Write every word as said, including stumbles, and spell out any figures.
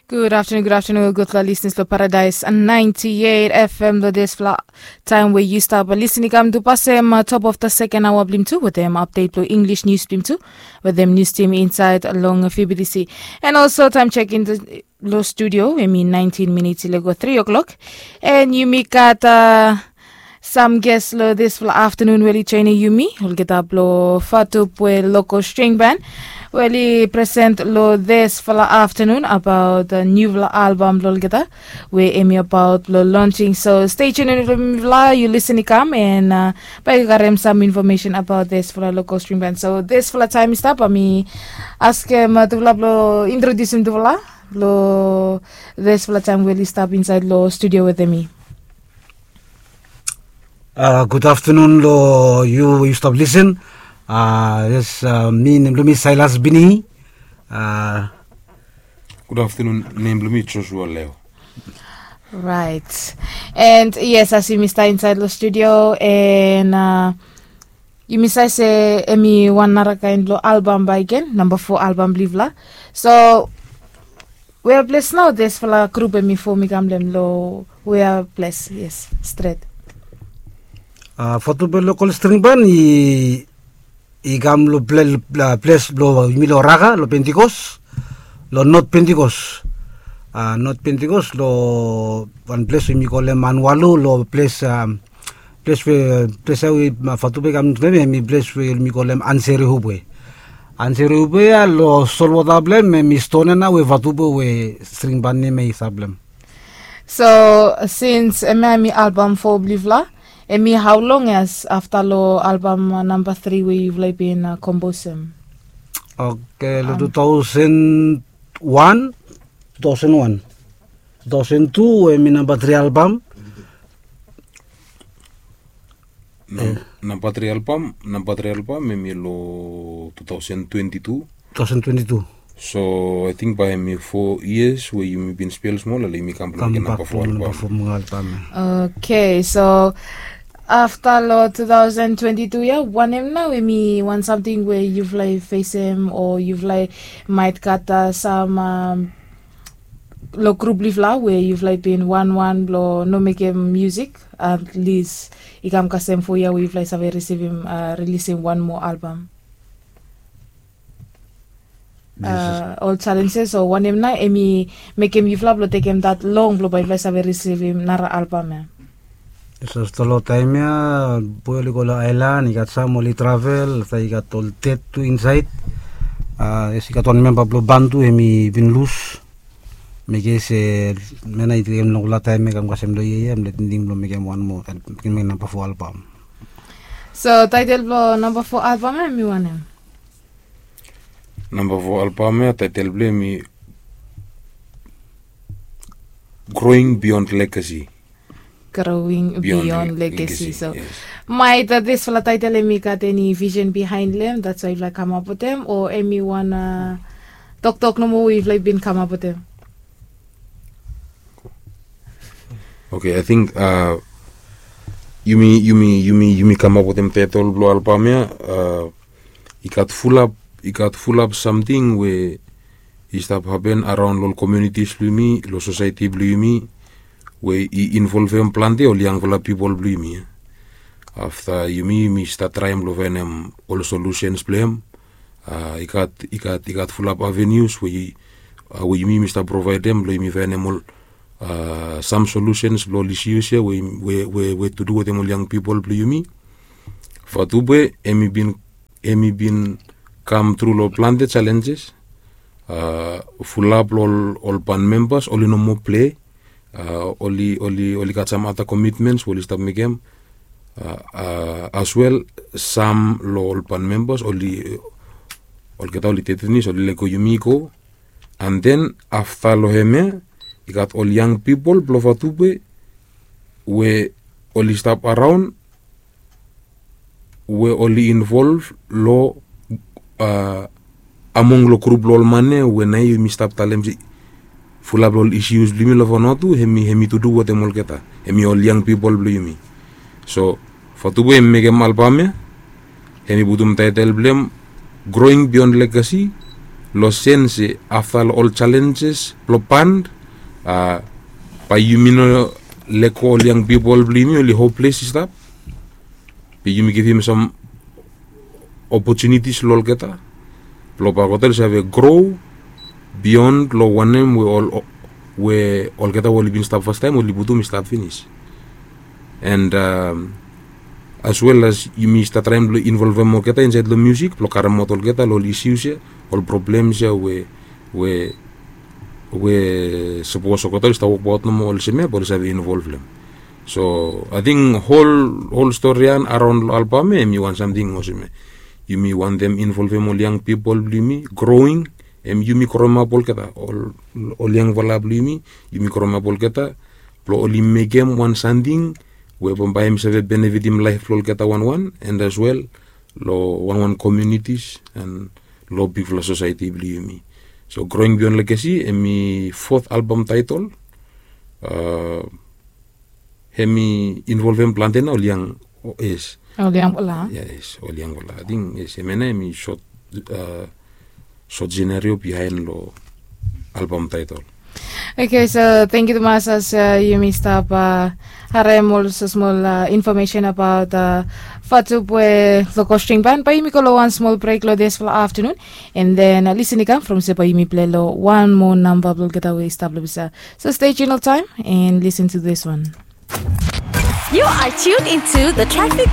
Gud aftanun, gud aftanun, gudfala lisnis long Paradise ninety eight F M long dispela taem we yu stap lisin i kam tu pasem top of the second hour blim tu wetem update long English news blim tu wetem news team inside long F B T C. And also time check in long studio, I mean nineteen minutes i lego three o'clock. And yumi got uh, Sam ges long dispela aftanun we oli joinim yumi olgeta blong Fatup we local string band we oli present long dispela aftanun abaot nupela album blong olgeta we em i abaot long launching. So stay tuned long mipela, yu listen i kam and uh, bai yu garem sam information abaot dispela local string band. So dispela taem i stap, bai mi askem uh, tupela blong introdusim tupela long dispela taem we oli stap inside long studio wetem mi. Uh, good afternoon lo yu, yu stop listen. Uh, yes, uh, mi nem lo mi Silas Bini. Uh, Good afternoon, nem lo mi Joshua Leo. Right. And yes, as yumi stap inside lo studio and uh, yumi save se em i wan nara kaen lo album baik gen, namba four album blong yufala. So we are blessed now, dispela grup em i fom i kam long em lo we are blessed, yes, stret. Uh, Fatupe local string band i i kam lo ples blo yumi lo Raga lo Pentikos, lo Not Pentikos. A, Not Pentikos lo wan ples we yumi kolem Anualu, lo ples, ples we, ples ya we Fatupe i kam long em, em i ples we yumi kolem Anserehubwe. Anserehubwe ya lo solwota blo em, em i ston ya nao we Fatupe we string ban nem ya i stap lo em. So sins em ya em i albam fo blong yufala, em i hau long ya afta long albam namba tri we yufala i bin komposem? Oke, long tu taosen wan, tu taosen wan, tu taosen tu em i namba tri albam. Namba tri albam, namba tri albam em i long tu taosen twenti tu. Tu taosen twenti tu. So ating bae em i fo yias we yumi bin spel smol, ale yumi kam blong mekem namba fo albam. Oke, so afta long tu taosen twenti tu ya, wanem nao em i wan samting we yufala i fesem o yufala i maet gat sam long grup blong yufala we yufala i bin wanwan blong no mekem musik, at least i kam kasem fo yia we yufala i save risivim, rilisim wan moa albam? Ol challenges o wanem nao em i mekem yufala blong tekem dat long blong bae yufala i save risivim nara albam ya? Yes, afta long taem ya boe oli go long aelan, i gat sam oli travel, afta i gat ol ded tu insaed. Yes, i gat wan memba blong ban tu em i bin lus. Mekem se mena i tekem longpela taem ya kam kasem long yia ya, em le tingting blong mekem wan moa, mekem namba fo albam. So taetel blong namba fo albam ya em i wanem? Namba fo albam ya taetel blong em i Growing Beyond Legacy. Growing Beyond Legacy. So maet disfala taetel em i gat eni visen bihaen long em, that's why yufala i kamap wetem, o em i wan toktok nomo we yufala i bin kamap wetem? Oke, ating yumi yumi yumi yumi kamap wetem taetel blong albam ya. I gat fulap, i gat fulap samting we i stap hapen araon long ol komiunitis blong yumi, long sosaeti blong yumi, we i involvem plante ol yangfala pipol blong yumi. Afta yumi yumi stat traem long faenem ol solusens blong em. I gat i gat i gat fulap avenius we yumi yumi stap provaedem blong yumi faenem ol sam solusens blong ol isius ya we we we we tu du wetem ol yang pipol blong yumi. Fatube em i bin em i bin kam tru long plante jalenjes. Fulap long ol ol ban membas oli no moa plei. Oli oli oli gat sam ata komitmens we oli stap mekem. As wel sam long ol ban membas oli olgeta oli tetinis oli lego yumi i go. An den afta long hem ya i gat ol yang pipol blong fatube we oli stap araon we oli involv long among long grup blong ol man ya we nao yumi stap talem se fulap long ol isius blong yumi long fanua tu hem i hem i tudu wetem olgeta, hem i ol yang pipol blong yumi. So fatube hem i mekem albam ya, hem i putum taetel blong hem Growing Beyond Legacy. Blong sen se afta long ol jalenjes blong band, a bae yumi no lego ol yang pipol blong yumi oli hoples i stap. Be yumi givim sam opotunitis long olgeta blong bae olgeta oli save gro bion long wanem we ol we olgeta we oli bin stap fastaem oli putum i stap finis. And as well as yumi stap traem blong involvem olgeta insaed long musik blong karemaot olgeta long ol isius ya, ol problems ya we we we sapos olgeta oli stap wokbaot nomo olsem ya bae oli save involv long em. So ating hol hol stori ya araon long albam ya em i wan samting olsem ya, yumi wantem involvem ol yang pipol blong yumi growing, em yumi growemap olgeta ol ol yangfala blong yumi, yumi growemap olgeta blong oli mekem wan samting we bambae hem i save benefitim laef blong olgeta wanwan and as well long wanwan komiunitis and long bigfala sosaeti blong yumi. So growing beyond legacy em i fot albam taetol. Hem i involvem plante na ol yang. Yes. Ol yangfala. Yes, ol yangfala ating yes em ya na em i sot sot senario bihaen long albam taetol. Oke, so tengkiu tumas as yumi stap harem ol smol infomesen abaot fatup we lokostring ban bae yumi go long wan smol brek long disfala aftanun. And then lisen i kam from se bae yumi pilai long wan moa namba blong olgeta we i stap long bisa. So stay tuned all time and listen to this one. You are tuned into the traffic.